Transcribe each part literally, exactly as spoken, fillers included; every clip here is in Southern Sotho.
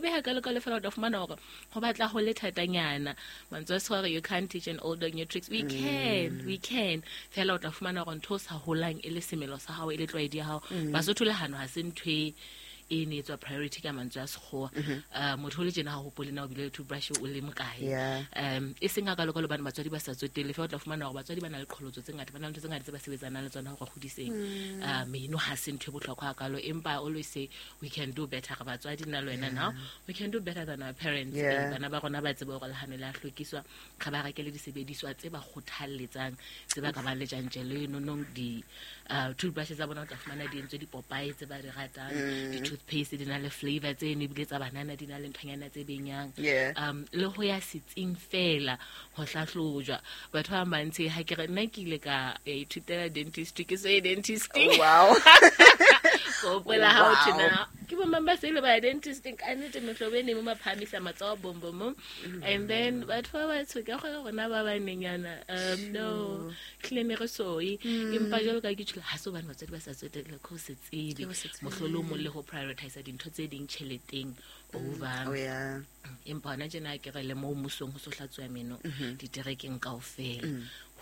hobe hakalo-kalo fela o tla fumana hore ho batla ho le thatanyana. Mantswe a Sekgowa, you can't teach an old dog new tricks. We can, we can. Fela o tla fumana hore ntho o sa holang e le semelo sa hao, e le tlwaedi ya hao. Basotho le hano ha se ntho e e ne etswa priority ka mantswe a Sekgowa. Uh, motho o le tjena ha o hopole na o bile le toothbrush o le mokae. Yeah. Um e seng hakalo-kalo hobane batswadi ba sa tsotelle, fela o tla fumana hore batswadi ba na le qholotso tse ngata, ba na le ntho tse ngata tse ba sebetsanang le tsona hore hodiseng. Uh, meno ha se ntho e bohlokwa hakalo, empa I always say we can do better. Re batswadi nna le wena now we can do better than our parents. Yeah. Eh, bana ba rona ba tsebe hore lehano le a hlwekiswa, re ba rekele disebediswa tse ba kgothalletsang, tse ba ka bang le tjantjello enonong. Di uh, toothbrushes tsa bona o tla fumana di entswe dipopae tse ba di ratang, di-toothpaste di na le flavor tse ne ebile tsa banana di na le nthonyana tse benyang. Yeah. Um le ho ya setsing fela ho hlahlojwa batho ba bantsi. Ha ke re nna ke ile ka ya ithutela dentistry, ke so ye dentisting. Oh, wow. Ko hopola ha ho thwe Wow. na ke bo mang ba se ile ba ya dentisting ka nnete, mehlobo e ne mo maphamisa matsoho bom bom bom. And then batho ba batsho ka kgona rona ba banenyana, um no hlile ne re soye, empa jwalo ka ke tjholo ha se hobane batswadi ba sa tsotelle, ke ho se tsebe, Ke ho se tsebe. Mohlolomong le ho prioritize dintho tse ding tjheleteng over. Oh yeah. Empa hona tjena ke re le moo mmusong ho so hlatsuwa meno diterekeng kaofela,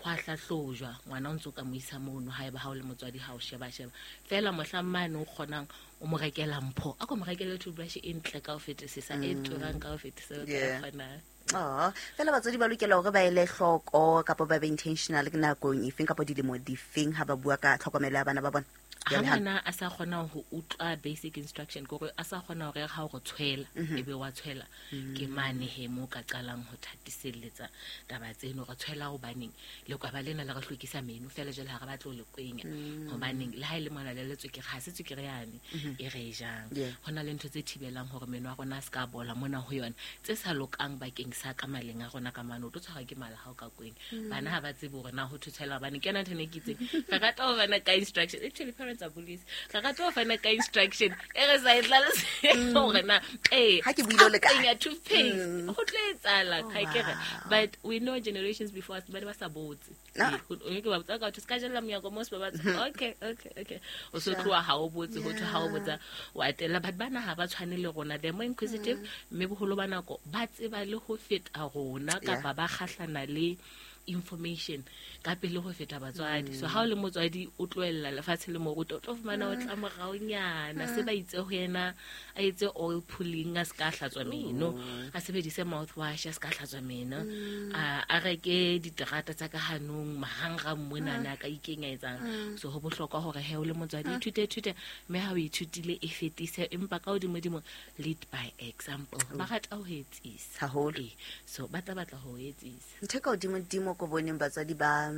ho a hlahlojwa ngwana o ntso ka mo isa mono. Haeba ha o le motswadi, ha o sheba sheba fela mohlang mane o kgonang o mo rekela mpho, a ko mo rekele toothbrush e ntle ka ho fetisisa, e turang ka ho fetisisa o ka Yeah. kgonang. Oh, fela batswadi ba lokela hore ba ele hloko kapa ba be intentional ke nakong efeng kapa dilemo difeng ha ba bua ka tlhokomelo ya bana ba bona Ha ya lehano? Ngwana a sa kgona ho utlwa basic instruction, ke hore a sa kgona hore ha o re tshwela ebe wa tshwela, ke mane he mo ka qalang ho thatiselletsa taba tseno, re tshwela hobaneng, lekwaba lena le re hlwekisa meno fela jwale ha re batle ho le kwenya hobaneng, le ha e le mona le le tswekere, ha se tswekere yane e re e jang. Yeah. Ho na le ntho tse thibelang hore meno a rona a se ka bola mona ho yona, tse sa lokang bakeng sa ka maleng a rona ka mane. O tlo tshwarwa ke mala ha o ka kwenya. Bana ha ba tsebe hore na ho thotshela hobane ke yona ntho e ne ke itseng re rata ho fana ka instruction. Actually, parents are bullies. Re rata ho fana ka instruction e re sa e hlaloseng hore na ee Ha ke buile o le kae? Kenya toothpaste ho tlo etsahala ha ke re. Wow. But we know generations before us ba ne ba sa botse. Ah. Ee, ho- o ke ba botsa ka ho thwe, se ka jella monyako mo se ba batsa. Okay, okay, okay, o so tloha ha o botse, ho thwe ha o botsa wa tella. But bana ha ba tshwane le rona, they're more inquisitive, mme boholo ba nako ba tseba le ho feta rona kapa ba kgahlana le information ka pele ho feta batswadi. So ha o le motswadi o tlohella lefatshe le moruta, o tlo fumana o tla moraonyana se ba itse ho yena a etse oil pulling, a se ka hlatswa meno, a sebedise mouthwash, a se ka hlatswa meno, a a reke diterata tsa ka hanong marangrang monana a ka ikenya etsang. So ho bohlokwa hore he o le motswadi ithute thute, mme ha o ithutile e fetise, empa ka hodimo-dimo lead by example. Ba rata ho etsisa. Haholo. Ee, so ba tla batla ho etsisa. Ntho e ka hodimo-dimo ko boneng batswadi ba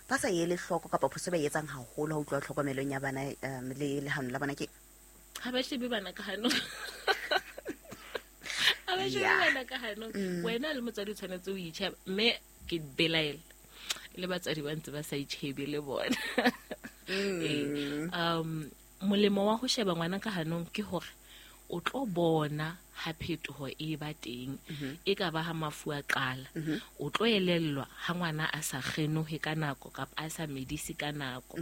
ba sa ele hloko kapa phoso e ba e etsang haholo ha ho tluwa tlhokomelong ya bana um le lehano la bona ke Ha ba shebe bana ka hanong, ha ba shebe Yeah. bana ka hanong. Wena le motswadi o tshwanetse o itjhebe, mme ke belaela le batswadi ba ntse ba sa itjhebe le bona. Ee, um molemo wa ho sheba ngwana ka hanong ke hore o tlo bona ha phetoho e ba teng, e ka ba ha mafu a qala, o tlo elellwa ha ngwana a sa kgenohe ka nako kapa a sa medise ka nako.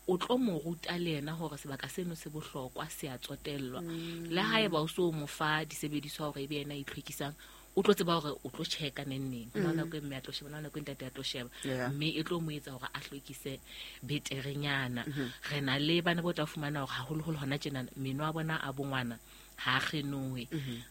O tlo mo ruta le yena hore sebaka seno se bohlokwa, se a tsotellwa. Le haeba o so mo fa disebediswa hore ebe yena a itlhwekisang, o tlo tseba hore o tlo check-a neng neng. Ho na le nako e mme a tlo sheba, ho na le nako e ntate a tlo sheba. Yeah. Mme e tlo mo etsa hore a hlwekise beterenyana. Re na le bana bo tla fumana hore haholoholo hona tjena meno a bona a bongwana ha a kgenohe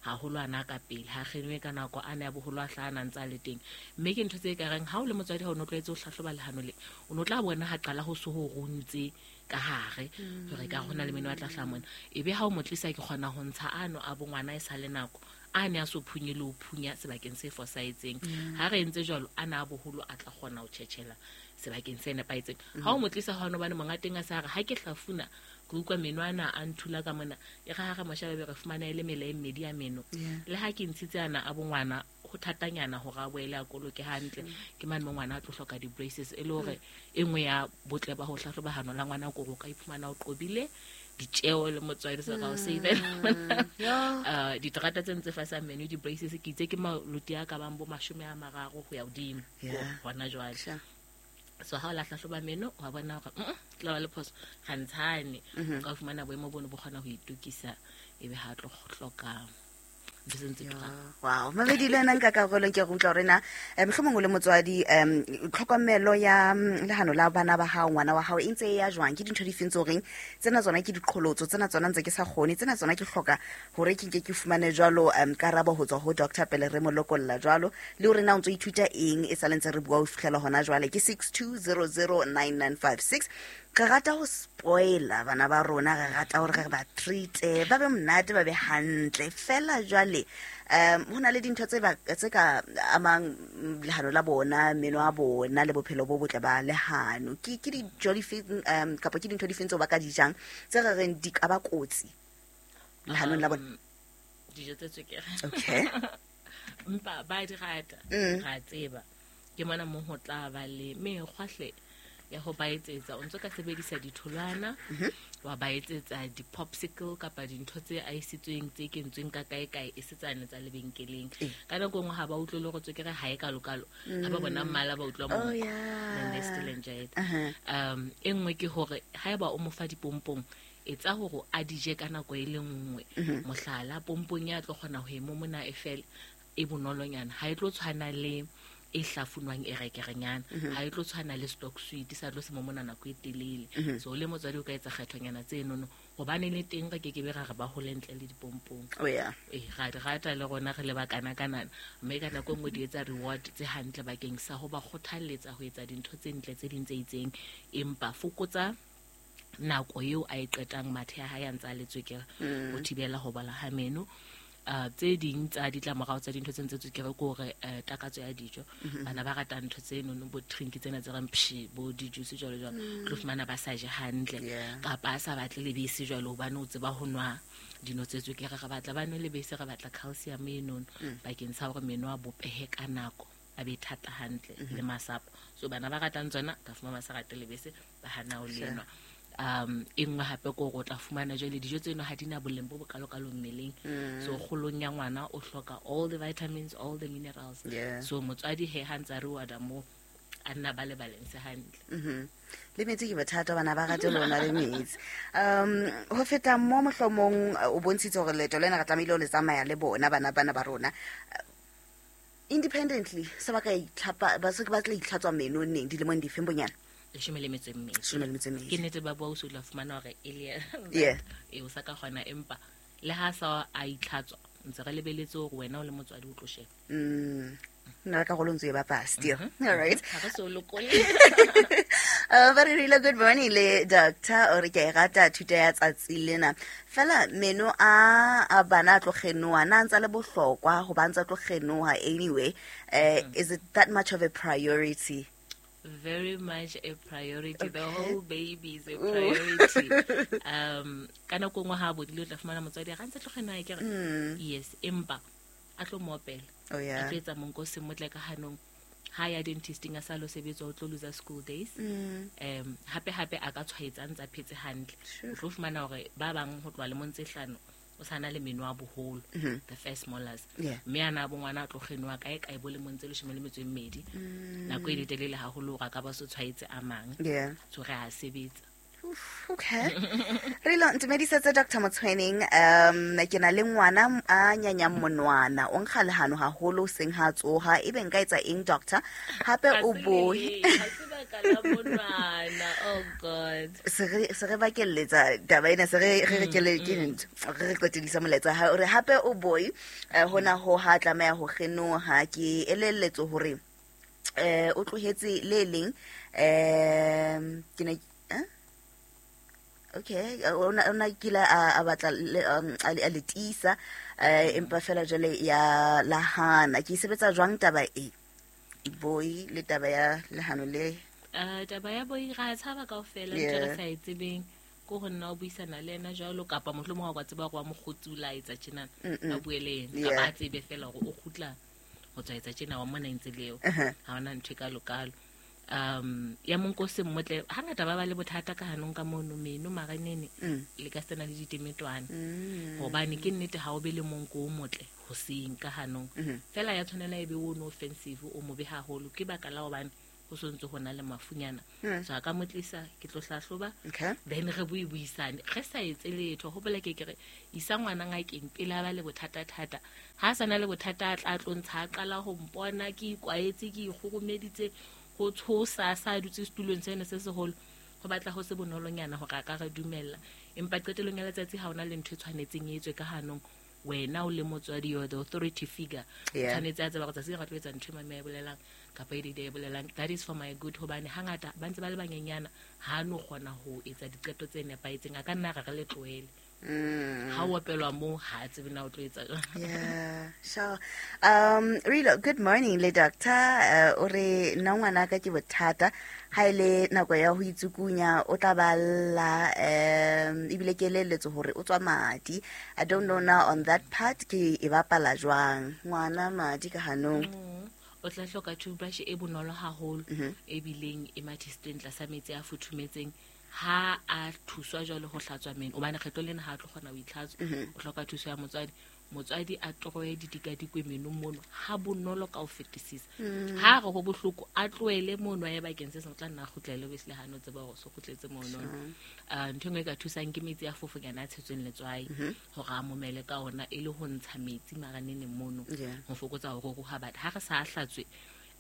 haholo, ana ka pele ha a kgenohe ka nako, a ne a boholo a hlaha a ntse a le teng. Mme ke ntho tse ka reng ha o le motswadi, ha o no tlwaetse ho hlahloba lehano le, o no tla bona ha qala ho so ho runtse ka hare hore ka hona le meno a tla hlaha mona, ebe ha o mo tlisa ke kgona ho ntsha ano a bongwana e sa le nako, a ne a so phunye le ho phunya sebakeng se fosahetseng. Ha re entse jwalo, a na a boholo a tla kgona ho tjhetjhela sebakeng se nepahetseng. Ha o mo tlisa hona hobane monga teng a sa re ha ke hlafuna ke utlwa meno ana a nthula ka mona, e re ha re mo sheba be re fumana e le mela e mmedi ya meno. Yeah. Le ha ke ntshitse ana a bongwana, ho thatanyana hore a boele a koloke hantle. Ke mane mo ngwana a tlo hloka di-braces, e le hore e nngwe ya botle ba ho hlahloba hano la ngwana ke hore o ka iphumana o qobile ditjeo le motswadi se ka o save-ela. Uh, diterata tse ntse fasang meno, di-braces, ke itse ke maloti a ka bang bo mashome a mararo ho ya hodimo Yeah. hona jwale. Sure. So ha o la hlahloba meno, wa bona hore mm tla ba le phoso ga ntshane, o ka fumana boemo bono bo kgona ho itokisa, ebe ha tlo hloka Ntho tse ntse turang. Wow, mamedi le wena nka karolo ke re utlwa hore na eh, mohlomong o le motswadi um tlhokomelo ya mm, lehano la bana ba hao, ngwana wa hao e ntse e ya jwang, ke dintho di feng tse horeng tsena tsona ke diqholotso, tsena tsona ntse ke sa kgone, tsena tsona ke hloka hore ke nke ke fumane jwalo um karabo ho tswa ho doctor pele re mo lokolla jwalo, le hore na o ntso ithuta eng e sa le ntse re bua ho fihlela hona jwale. Ke six two zero zero nine nine five six. Re rata ho spoiler bana ba rona, re rata hore re ba treat-e, ba be monate, ba be hantle. Fela jwale um ho na le dintho tse ba tse ka amang lehano la bona, meno a bona le bophelo bo botle ba lehano. Ke ke dijo difeng um kapa ke dintho difeng tseo ba ka di jang tse re reng di ka ba kotsi lehanong la bona? Um, dijo tse tswekere. Okay. Empa ba di rata, Mm. ra tseba. Ke mona mo ho tla ba le mekgwa hle ya ho ba etsetsa. O ntso ka sebedisa ditholwana, wa ba etsetsa di-popsicle kapa dintho tse aesitsweng tse kentsweng ka kae kae e se tsane tsa lebenkeleng. Eh. Ka nako e nngwe ha ba utlwe le hore tswekere ha e kalokalo, ha ba bona mmala ba utlwa Oh, monko. yeah. Then they still enjoy it. Uh-huh. Um, e nngwe ke hore haeba o mo fa dipompong, etsa hore a di je ka nako e le nngwe. Mohlala, pompong ya tlo kgona ho e momona e fele, e bonolonyana. Ha e tlo tshwana le e hlafunwang e rekerenyana, ha e tlo tshwana le stock sweet sa tlo se momona nako e telele. So le motswadi o ka etsa kgethonyana tsenono, hobane le teng re kekebe ra re ba hole ntle le dipompong. Oh, yeah. Eh, ra di rata le rona re le ba kana-kanana, mme ka nako e nngwe di etsa reward tse hantle bakeng sa ho ba kgothalletsa ho etsa dintho tse ntle tse ding tse itseng. Empa fokotsa nako eo a e qetang mathe a hae a ntse a le tswekere ho thibela ho bola ha meno. Uh, tse ding tsa ditlamorao tsa dintho tse ntse tswekere ke hore, eh, takatso ya dijo. Bana ba ratang ntho tse nono, bo drink tsena tse reng pshi, bo di-juice jwalo jwalo, o tlo fumana ba sa je hantle. Yeah. Kapa a sa batle lebese jwalo hobane o tseba ho nwa dino tse tswekere. Re batla ba nwe lebese, re batla calcium e nono bakeng sa hore meno a bopehe ka nako, a be thata hantle le masapo. So bana ba ratang tsona, ka fumana ba sa rate lebese, ba hana ho le nwa. Um, e nngwe hape ke hore o tla fumana jwale dijo tseno ha di na boleng bo bokalokalo mmeleng. So kgolong ya ngwana o hloka all the vitamins, all the minerals. Yeah. So motswadi he ha ntsa re wada mo, a nna ba le balance hantle. Mhm. Le metsi ke bothata, bana ba rate lona le metsi. Um, ho feta mo mohlomong, o bontshitse hore leeto lena re tlamehile ho le tsamaya le bona bana bana ba rona. Independently, se ba ka itlhapa, ba se ba tla itlhatswa meno neng, dilemong difeng bonyane? Leshome le metso e mmedi. Leshome le metso e mmedi. Ke nnete ba bua o se o tla fumana hore e le Yeah. E o sa ka kgona, empa le ha sa a itlhatswa, ntse re lebeletse hore wena o le motswadi o tlo sheba. Mm. Nna ka karolo ntse e bapala still. All right. Ha re so lokole. Uh, ba re rile good morning le doctor, o re ke e rata thuto ya tsatsi lena. Fela meno a, a bana a tlo kgenoha, na ntsa le bohlokwa ho ba ntsa tlo kgenoha anyway? Uh, is it that much of a priority? Very much a priority. The Okay. whole baby is a Ooh. priority. Um, ka nako nngwe ha bodile o tla fumana motswadi a re, Ha ntse tlo kgenoha akere? Mm. Yes, empa a tlo mo opela. Oh, yeah. A tlo etsa monko o se motle ka hanong. Ha ya dentisting a sa lo sebetsa, o tlo lose school days. Mm. Um, hape hape a ka tshwaetsa a ntse a phetse hantle. Sure. O tlo fumana hore ba bang ho tloha lemong tse hlano o sa na le meno a boholo, Mm-hmm. the first molars. Yeah. Mme ana bo ngwana a tlo kgenoha kae kae bo lemong tse leshome le metso e mmedi. Mm. Nako e letelele haholo hore a ka ba so tshwaetse a mang. Yeah. So re a sebetsa. Oof, okay. Re lo ntumedisetse Doctor Motshweneng, um ke na le ngwana a nyanyang monwana, o nkga lehano haholo seng ha tsoha, ebe nka etsa eng doctor? Hape Ha o se bohe. le, ha se baka la monwana. Oh God. Se re, se re bakelletsa taba ena, se re, re re kele, ke ntho, re re qetellisa molaetsa ha o re hape o boy, eh, hona ho ha tlameha ho kgenoha, ke elelletso hore, eh, o tlohetse le leng, em, ke ne, eh? Okay, o na, o na kile a, a batla le, um, a le, a le tiisa, eh, empa fela jwale ya lahana. Ke sebetsa jwang taba e? Boy le taba ya lehano le? Eh, taba ya boy ra tshaba kaofela, ntho re Yeah. sa e tsebeng. Ke ho nna o buisana le yena jwalo, kapa mohlomong ha o ka tseba hore wa mo kgutsula a etsa tjena, Mm-mm. a bue le yena. Yeah. Kapa a tsebe fela hore o kgutla ho tswa etsa tjena, wa mona ntse leo. Uh-huh. Ha hona ntho e kalo-kalo. Um, ya monko se mmotle, hangata ba ba le bothata ka hanong ka mono meno marenene, Mm. le ka sena le ditemetwana. Mm. Hobane ke nnete ha o be le monko o motle hoseng ka hanong. Mm-hmm. Fela ya tshwanela e be o no offensive, o mobe haholo, ke baka la hobane ho sontse ho na le mafunyana. So a ka mo tlisa ke tlo hlahloba. Okay. Then re bui buisane. Re sa etse letho ho bola ke ke re isa ngwana ngakeng pele a ba le bothata thata. Ha sa na le bothata a tla tlo ntsha a qala ho mpona ke ikwaetse ke ikgoromeditse ho tshosa sa dutse setulong sena se seholo. Ho batla ho se bonolonyana hore a ka re dumella. Empa qetellong ya letsatsi ha ona le ntho e tshwanetseng e etswe ka hanong. Wena o le motswadi, you're the authority figure. Tshwanetse a tseba hore tsatsi re tlo etsa ntho e mame e bolelang kapa e dide e bolelang. That is for my good hobane hangata ba ntse ba le banyenyana ha no kgona ho etsa diqeto tse nepahetseng. A ka nna re re le tlohele. Ha o opelwa mo ha tsebe na o tlo etsa. Yeah, sure. Um Rilo, good morning le doctor. Uh, o re nna ngwana ka ke bothata ha ile nako ya ho itsukunya o tla balla um ebile ke leletse hore o tswa madi. I don't know now on that part ke e bapala jwang ngwana madi ka hanong. O tla hloka toothbrush e bonolo haholo e bileng e mathisitsweng tlasa metsi a futhumetseng. Ha a thuswa jwalo ho hlatswa meno obane kgetlo lena ha a tlo kgona ho itlhatswa, o hloka thuso ya motswadi. Motswadi a toroye didikadikwe menong mono ha bonolo ka ho fetisisa. Ha re ho bohloko a tlohele mono a ye bakeng se seng, o tla nna a kgutlele obviously ha no tseba hore so kgutletse mono. Uh, ntho e nngwe e ka thusang ke metsi a fofonyana a tshetsweng letswai hore a momele ka ona e le ho ntsha metsi maraneneng mono ho fokotsa ho ruruha. But ha re sa hlatswe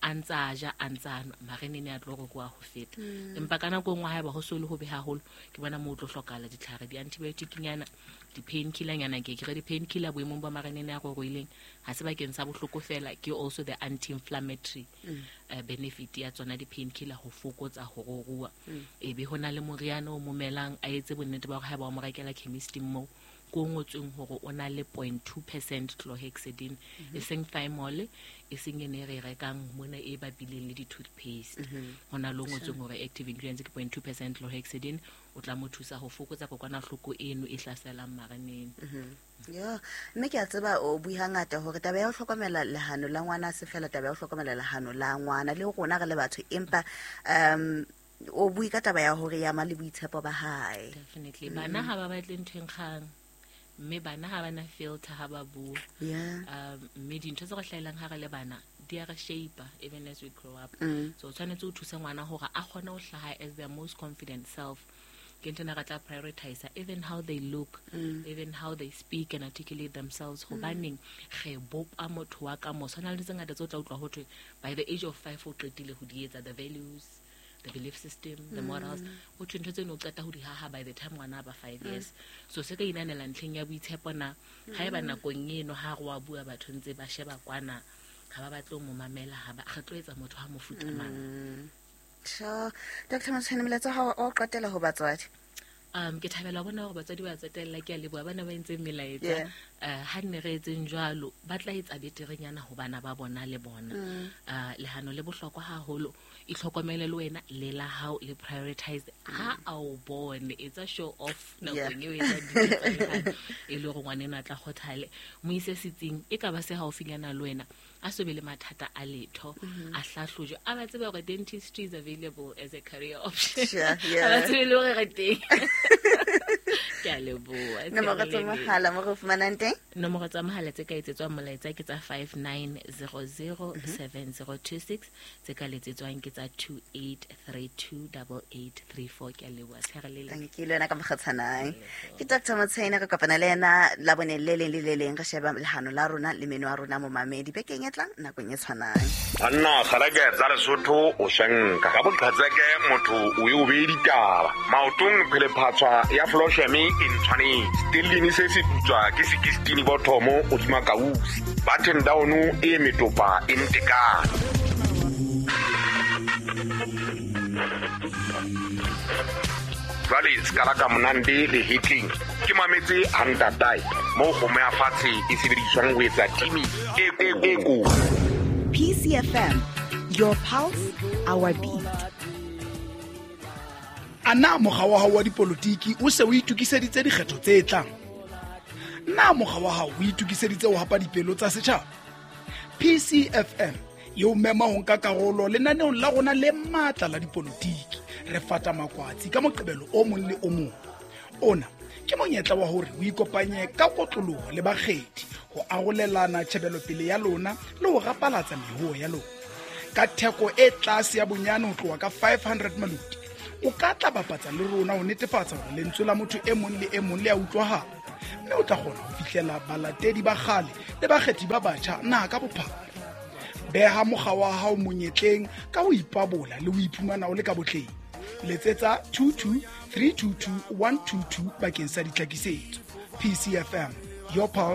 a ntsa a ja a ntsa a nwa marenene a tlo ruruha ho feta. Empa ka nako e nngwe haeba ho so le hobe haholo ke bona moo o tlo hlokahala ditlhare, di-antibiotic-nyana, di-painkiller-nyana. Ke ke re di-painkiller boemong ba marenene a ruruhileng ha se bakeng sa bohloko fela, ke also the anti-inflammatory uh, benefit ya tsona di-painkiller ho fokotsa ho ruruha. Ebe ho na le moriana o momelang a etse bonnete ba hore haeba o mo rekela chemist-ing moo ko ngotsweng hore o na le zero point two percent chlorhexidine, e seng thymol, e seng ene re rekang mona e bapileng le di-toothpaste. Ho na le o ngotsweng hore active ingredients ke zero point two percent chlorhexidine, o tla mo thusa ho fokotsa kokwanahloko eno e hlaselang maraneng. Yeah, mme ke a tseba o bui hangata hore taba ya ho hlokomela lehano la ngwana se fela taba ya ho hlokomela lehano la ngwana le rona re le batho, empa um o bui ka taba ya hore ya ma le boitshepo ba hae. Definitely. Bana ha ba batle ntho e nkgang, mme bana ha bana filter ha ba bua. Yeah. Um mme dintho tse re hlahelang ha re le bana di a re shape even as we grow up. So tshwanetse o thuse ngwana hore a kgone ho hlaha as their most confident self. Ke ntho ena re tla prioritize even how they look, even how they speak and articulate themselves. Hobaneng re bopa motho wa ka moso. Ho na le tse ngata tse o tla utlwa ho thwe by the age of five o qetile ho di etsa, the values, the belief system, the morals. O thwe ntho tseno o qeta ho di haha by the time ngwana a ba five years. So se ka inanela ntlheng ya boitshepo na haeba nakong eno ha re wa bua batho ntse ba sheba kwana ha ba batle ho mo mamela, ha ba re tlo etsa motho ha mofuta mang. Sure. Doctor Motshwane, molaetsa wa hao o qetela ho batswadi. Um ke thabela ho bona hore batswadi ba tsotella, ke a leboha bana ba entseng melaetsa. Uh, ha nne re etseng jwalo ba tla etsa beterenyana ho bana ba bona le bona. Uh, lehano le bohlokwa haholo, itlhokomele le wena le la hao le prioritize. Ha a o bone etsa show off nakong eo etsa dintho tsa lehano e le hore ngwaneno a tla kgothale. Mo ise setsing e ka ba se haufinyana le wena, a so be le mathata a letho, a hlahlojwe, a ba tsebe hore dentistry is available as a career option. Sure, yeah. A ba tsebe le hore re teng. Ke a leboha. Nomoro tsa mohala mo re fumanang teng? Nomoro tsa mohala tse ka etsetswang molaetsa ke tsa five nine zero zero seven zero two six, tse ka letsetswang ke tsa two eight three two double eight three four. Ke a leboha. Tshegelele. Thank you le wena ka mokgatshanae. Ke Doctor Motshwane, re kopana le yena Labone le leng le le leng re sheba lehano la rona le meno a rona momamedi bekeng e tlang nakong e tshwanang. Banna kgaleke tsa Lesotho o shanka ka boqhetseke motho o e o bee ditaba maotong phelephatswa ya flosheme e ntshwanetse stellini se se putswa ke sixteen bothomo hodima kausi button down e metopa e ntekane. Jwale sekala ka monande le hitling ke mametse hantatae mo kgomo ya fatshe e sebediswang ho etsa timi e e ko. P C F M, your pulse, our beat. A na mokga wa hao wa dipolotiki o se o itokiseditse dikgetho tse tlang? Na mokga wa hao o itokiseditse ho hapa dipelo tsa setjhaba? P C F M e o mema ho nka karolo lenaneong la rona le matla la dipolotiki. Re fata makwatsi ka Moqebelo o mong le o mong. Ona ke monyetla wa hore o ikopanye ka kotloloho le bakgethi ho arolelana tjhebelopele ya lona le ho rapalatsa mehoo ya lona. Ka theko e tlase ya bonyane ho tloha ka five hundred maluti, o ka tla bapatsa le rona ho netefatsa hore lentswe la motho e mong le e mong le a utlwahala, mme o tla kgona ho fihlela balatedi ba kgale le bakgethi ba batjha naha ka bophara. Beha mokga wa hao monyetleng ka ho ipabola le ho iphumana o le ka botleng. Letsetsa two two three two two one two two bakeng sa ditlhakisetso. P C F M, your pulse.